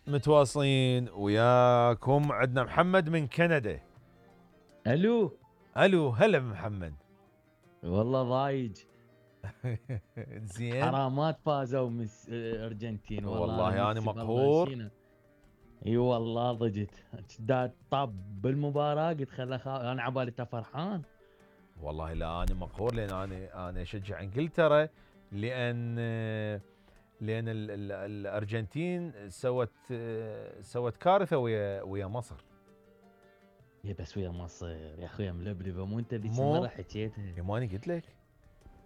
متواصلين وياكم. عندنا محمد من كندا. الو هلا محمد. والله ضايج. زين. حرامات فازوا من ارجنتين والله انا ميسي مقهور. اي والله ضجت. طاب بالمباراه قلت انا عبالي فرحان. والله لا انا مقهور لان انا اشجع انجلترا لان الارجنتين سوت كارثه ويا مصر. يا بس ويا مصر يا اخويا ملبلبه، مو انت ذيك مو المره حكيتها؟ يا ماني قلت لك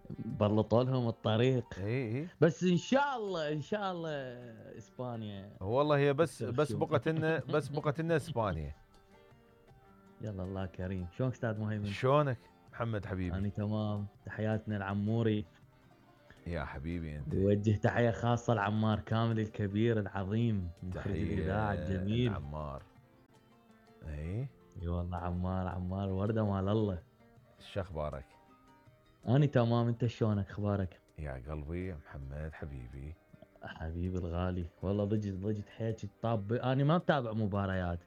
بلطوا لهم الطريق. اي بس ان شاء الله اسبانيا والله هي بس تكسر بس الشوم. بقت لنا اسبانيا. يلا الله كريم. شلونك استاذ مهيمن؟ شلونك محمد حبيبي؟ انا تمام. تحياتنا العموري. يا حبيبي انت. وجه تحية خاصة لعمار كامل الكبير العظيم مخرج الإذاعة الجميل. عمار. اي والله عمار وردة مال الله. شو اخبارك؟ أنا تمام. أنت شلونك أخبارك؟ يا قلبي يا محمد حبيبي. حبيبي الغالي. والله ضجت حيلك طاب. أنا ما متابع مباريات،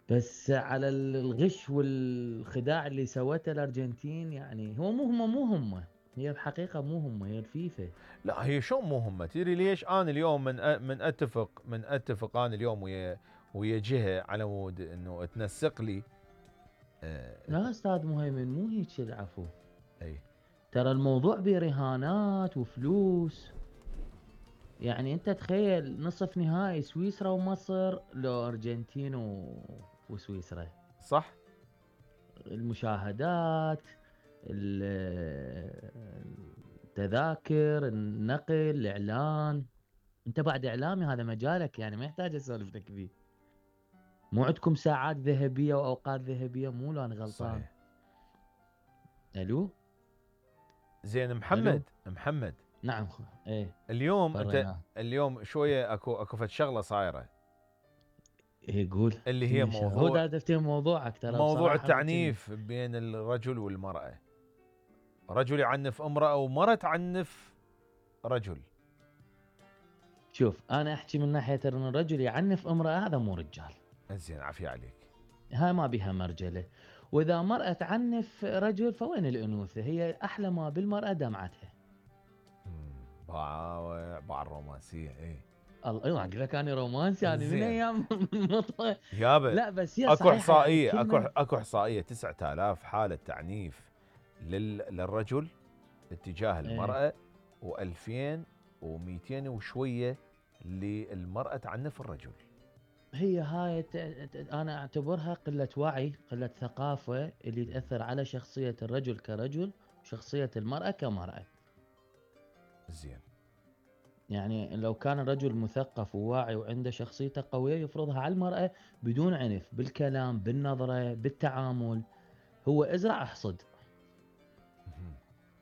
بس على الغش والخداع اللي سوته الأرجنتين. يعني هو مو هم هي الحقيقة مو هم، هي الفيفا. لا هي شو مو هم؟ تدري ليش انا اليوم من اتفق انا اليوم ويا جهه على مود انه تنسق لي. لا استاذ مهيمن مو هيك العفو. اي ترى الموضوع برهانات وفلوس. يعني انت تخيل نصف نهائي سويسرا ومصر لو ارجنتين وسويسرا. صح. المشاهدات، التذاكر، النقل، الاعلان. انت بعد اعلامي هذا مجالك، يعني ما يحتاج اسولف لك فيه. مو عندكم ساعات ذهبيه واوقات ذهبيه؟ مو لو انا غلطان. صحيح. الو. زين الو. محمد. نعم ايه. اليوم انت فريناه. اليوم شويه اكو فد شغله صايره ايه قول. اللي هي هو دا تفتهم موضوعك ترى موضوع بصراحه التعنيف بين الرجل والمراه. رجل يعنف امراه ومراه تعنف رجل. شوف انا احكي من ناحيه ان الرجل يعنف امراه هذا مو رجال. زين عافيه عليك. هاي ما بيها مرجله. واذا مراه تعنف رجل فوين الانوثه؟ هي احلى ما بالمراه دمعتها. باع الرومانسيه. اي الله اقول لك انا رومانسي. انا من ايام يابا. لا بس هي اكو صحيحه. يعني احصائيه اكو احصائيه 9000 حاله تعنيف للرجل اتجاه المراه و2200 وشويه للمراه تعنف الرجل. هي هاي انا اعتبرها قله وعي، قله ثقافه اللي تاثر على شخصيه الرجل كرجل وشخصيه المراه كمراه. زين. يعني لو كان الرجل مثقف وواعي وعنده شخصيته قوية يفرضها على المرأة بدون عنف، بالكلام، بالنظرة، بالتعامل. هو ازرع احصد.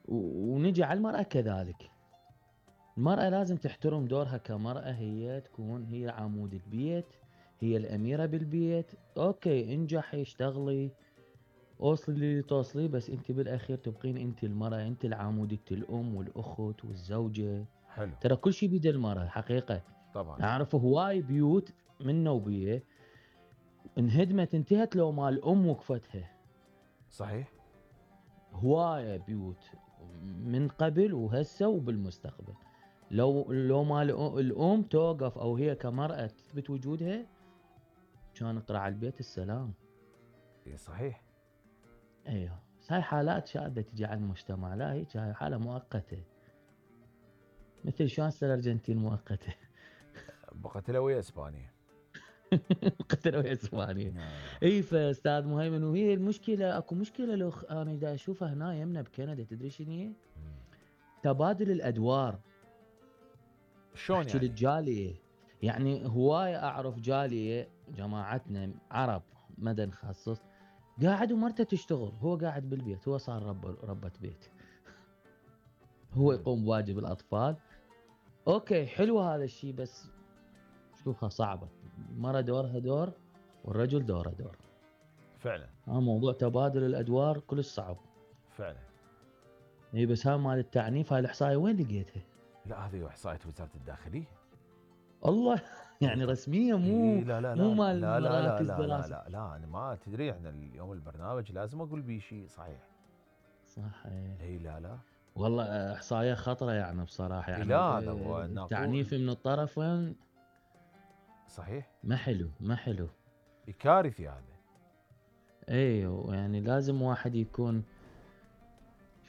ونجي على المرأة كذلك. المرأة لازم تحترم دورها كمرأة. هي تكون هي عمود البيت، هي الأميرة بالبيت. اوكي انجحي اشتغلي اوصلي اللي توصلي، بس انت بالاخير تبقين انت المرأة، انت العمود، انت الام والاخت والزوجة. حلو. ترى كل شيء بيد المرأة حقيقة. طبعا. اعرف هواي بيوت من نوبيه انهدمت انتهت لو ما الام وقفتها. صحيح. هوايه بيوت من قبل وهسه وبالمستقبل. لو ما الام توقف او هي كمراه تثبت وجودها كان قرع البيت السلام. اي صحيح. ايوه. هاي حالات شاذة تجي على المجتمع. لا هيك هاي حاله مؤقته. مثل شلون الارجنتين مؤقته. بقت له ويا اسبانيا. قتلوا اسبانيا. اي فاستاذ مهيمن. وهي المشكله اكو مشكله لو انا دا اشوفها هنا يمنا بكندا. تدري شنو هي؟ تبادل الادوار. شلون احكي يعني؟ للجاليه. يعني هوايه اعرف جاليه جماعتنا عرب مدى نخصص قاعد ومرته تشتغل، هو قاعد بالبيت، هو صار ربة بيت. هو يقوم بواجب الاطفال. اوكي حلو هذا الشيء، بس شوفها صعبه. المرأة دورها دور والرجل دوره دور. فعلا. موضوع تبادل الادوار كلش صعب. فعلا. اي بس ها مال التعنيف هاي الاحصائيه وين لقيتها؟ لا هذه احصائيه وزاره الداخليه. الله يعني رسميه، إيه لا لا مو لا مال لا لا لا مراكز لا لا دراسه. لا لا أنا ما تدري احنا اليوم البرنامج لازم أقول بيه شيء صحيح. صح إيه. إي لا لا. والله احصائيه خطره يعني بصراحه، إي يعني لا هذا هو التعنيف نقول من الطرفين صحيح. ما حلو ما حلو. كارثي هذا. ايوه يعني لازم واحد يكون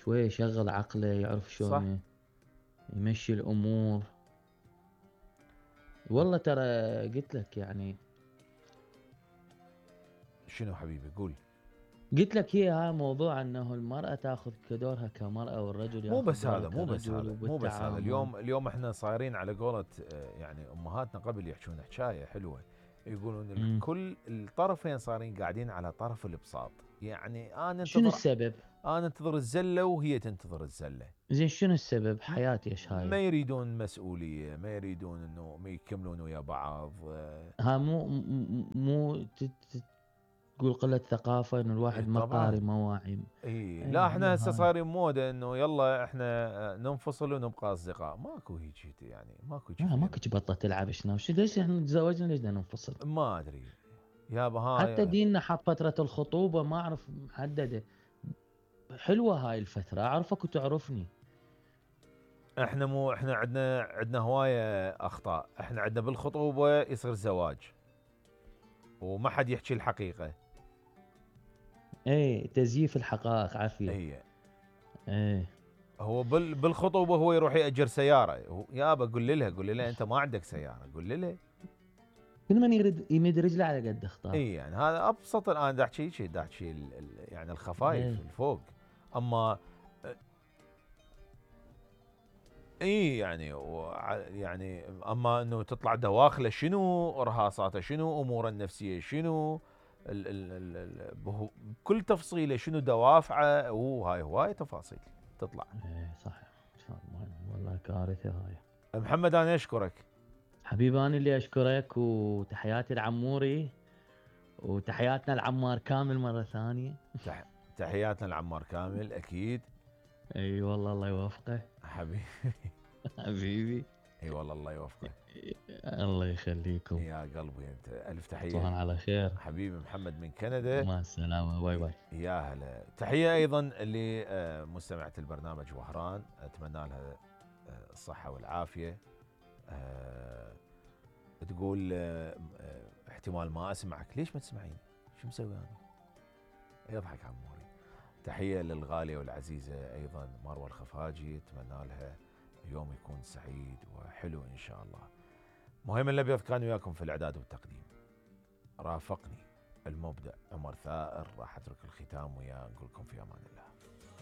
شويه يشغل عقله، يعرف صح. شلون يمشي الامور. والله ترى قلت لك يعني، شنو حبيبي قول. قلت لك هي ها موضوع انه المرأة تاخذ كدورها كمرأة والرجل مو ياخذ بس دوره هذا مو بس كرجل، هذا مو بس هذا وبالتعامل. اليوم احنا صايرين على قولة يعني امهاتنا قبل يحكون حكايه حلوه، يقولون الكل الطرفين صايرين قاعدين على طرف البساط. يعني شنو السبب؟ انا انتظر الزله وهي تنتظر الزله. زين شنو السبب؟ حياتي ايش ما هاي؟ يريدون مسؤوليه، ما يريدون انه ما يكملون ويا بعض. ها مو تقول قلة ثقافة، انه الواحد ما قاري طبعا. ما واعي. اي لا هي احنا هسه هاي. صايرين موده انه يلا احنا ننفصل ونبقى اصدقاء. ماكو هيك يعني ماكو هيك. ماكو بطة تلعب شنو ليش احنا تزوجنا ليش بدنا ننفصل؟ ما ادري يابا حتى هاي. ديننا حط فترة الخطوبة ما اعرف محددة. حلوة هاي الفترة، اعرفك وتعرفني. احنا عندنا هوايه اخطاء. احنا عندنا بالخطوبه يصير زواج وما حد يحكي الحقيقه. ايه تزييف الحقائق عافية. هي ايه هو بالخطوبه هو يروح ياجر سياره. يابا قول لها انت ما عندك سياره، قول لها. كل من يمد رجله على قد اخطاء. اي يعني هذا ابسط. انا دا احكي شيء يعني الخفايف ايه. الفوق. اما اي يعني يعني اما انه تطلع دواخله شنو، ارهاصاته شنو، اموره النفسيه شنو، بكل تفصيله شنو دوافعه، وهاي هواي تفاصيل تطلع. ايه صح. والله كارثة هاي. محمد انا اشكرك حبيبي انا اللي اشكرك، وتحياتي لعموري، وتحياتنا لعمار كامل مرة ثانية. تحياتنا لعمار كامل اكيد. اي والله الله يوفقه. حبيبي. حبيبي. اي والله الله يوفقه. الله يخليكم. يا قلبي انت الف تحيه. تصبحون على خير. حبيبي محمد من كندا. مع السلامة، باي باي. يا هلا. تحيه ايضا لمستمعه البرنامج وهران، اتمنى لها الصحه والعافيه. تقول احتمال ما اسمعك. ليش ما تسمعين؟ شو مسوي انا؟ يضحك عموري. تحيه للغاليه والعزيزه ايضا مروه الخفاجي، اتمنى لها يوم يكون سعيد وحلو ان شاء الله. مهم الابيض كان وياكم في الاعداد والتقديم. رافقني المبدع عمر ثائر. راح اترك الختام وياه، نقول لكم في امان الله.